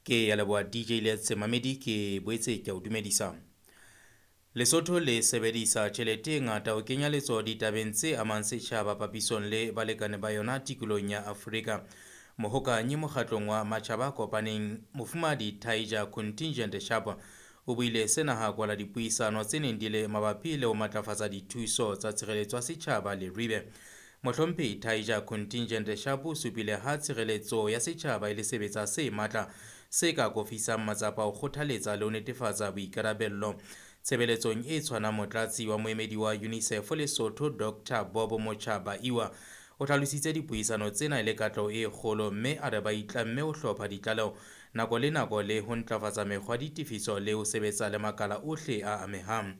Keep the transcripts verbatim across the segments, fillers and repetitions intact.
Ke ya leboha D J Letse Mamedi, ke boetse ke o dumedisa. Lesotho le sebedisa tjhelete e ngata ho kenya letsoho ditabeng tse amang setjhaba papisong le balekane ba yona tikolohong ya Afrika. Mohokanyi mokgatlong wa matjhaba a kopaneng Mofumahadi Tiger Contingent Sharp o buile sena ha kwala dipuisano tse neng di le mabapi le ho matlafatsa dithuso tsa tshireletso ya setjhaba Leribe. Mohlomphehi Tiger Contingent Sharp o supile ha tshireletso ya setjhaba e le sebetsa se matla se ka kofisang matsapa ho kgothaletsa le ho netefatsa boikarabello. Tshebeletsong e tshwanang motlatsi wa moemedi wa UNICEF Lesotho Doctor Bob Motjhabaiwa o hlalositse dipuisano tsena e le katleho e kgolo mme a re ba itlamme ho hlopha ditlaleho nako le nako le ho ntlafatsa mekgwa ya ditefiso le ho sebetsa le makala ohle a amehang.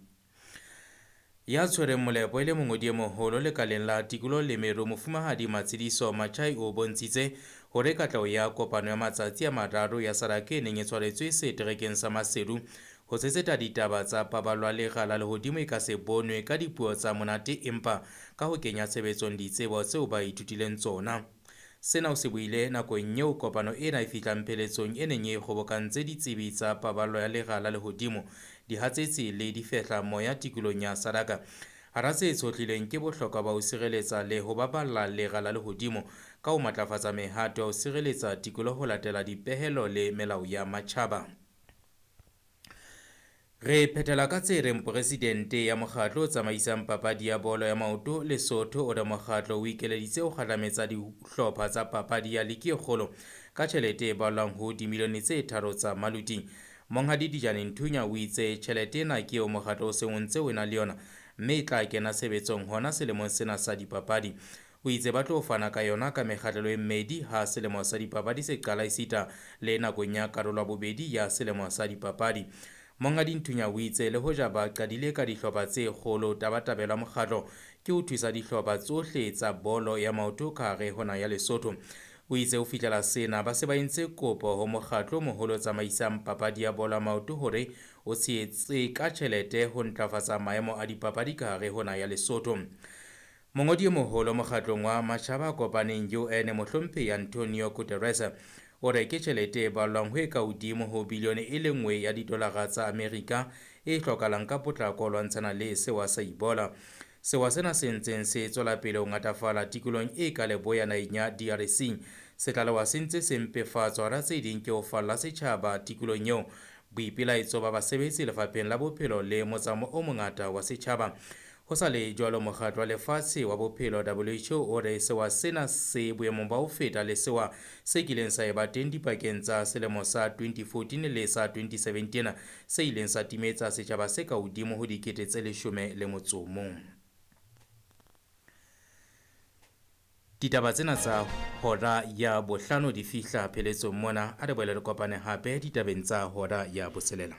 Ya tshwereng molepo e le mongodi e moholo lekaleng la tikoloho le meru Mofumahadi Matshidiso Machai o bontshitse hore katleho ya kopano ya matsatsi a mararo ya SADC e neng e tshwaretswe seterekeng sa Maseru ho tshetsetsa ditaba tsa paballo ya lera la lehodimo e ka se bonwe ka dipuo tsa monate empa ka ho kenya tshebetsong ditsebo tseo ba ithutileng tsona. Sena o se buile nakong eo kopano ena e fihlang pheletsong e neng e kgobokantse ditsebi tsa paballo ya lera la lehodimo, dihatsetsi le difehla moya tikolohong ya SADC. Hara tse tshohlilweng ke bohlokwa ba ho sireletsa le ho baballa lera la lehodimo ka ho matlafatsa mehato ya ho sireletsa tikoloho ho latela dipehelo le melao ya matjhaba. Re phethela ka tse reng presidente ya mokgatlo o tsamaisang papadi ya bolo ya maoto Lesotho o re mokgatlo o ikeleditse ho kgahlametsa dihlopha tsa papadi ya ligi e kgolo ka tjhelete e balwang ho dimilione tse tharo tsa maluti. Monghadi Dijane Nthunya o itse tjhelete ena ke eo mokgatlo o seng o ntse o ena le yona mme e tla kena tshebetsong hona selemong sena sa dipapadi. O itse ba tlo fana ka yona ka mekgahlelo e mmedi ha selemo sa dipapadi se qala esita le nakong ya karolo ya bobedi ya selemo sa dipapadi. Monghadi Nthunya o itse le hoja ba qadile ka dihlopha tse kgolo, tabatabelo ya mokgatlo ke ho thusa dihlopha tsohle tsa bolo ya maoto ka hare ho naha ya Lesotho. O itse ho fihlela sena ba se ba entse kopo ho mokgatlo o moholo o tsamaisang papadi ya bolo ya maoto hore o tshehetse ka tjhelete ho ntlafatsa maemo a dipapadi ka hare ho naha ya Lesotho. Mongodi e moholo mokgatlong wa matjhaba a kopaneng U N Mohlomphehi Antonio Guterres o re ke tjhelete e ballwang ho e ka hodimo ho bilione e le nngwe ya didolara tsa Amerika e hlokahalang ka potlako ho lwantshana le sewa sa Ebola. Sewa sena se ntseng se tswela pele ho ngatafala tikolohong e ka leboya naheng ya D R C. Se tlalewa se ntse se mpefatswa hara tse ding ke ho falla setjhaba tikolohong eo, boipelaetso ba basebetsi lefapheng la bophelo le motsamao o mongata wa setjhaba. Ho sa le jwalo, mokgatlo wa lefatshe wa bophelo W H O o re sewa sena se boemong ba ho feta le sewa se kileng sa eba teng dipakeng tsa selemo sa twenty fourteen le sa twenty seventeen se ileng sa timetsa setjhaba se ka hodimo ho dikete tse leshome le motso o mong. Ditaba tsena tsa hora ya bohlano di fihla pheletsong mona. A re boele re kopane hape ditabeng tsa hora ya botshelela.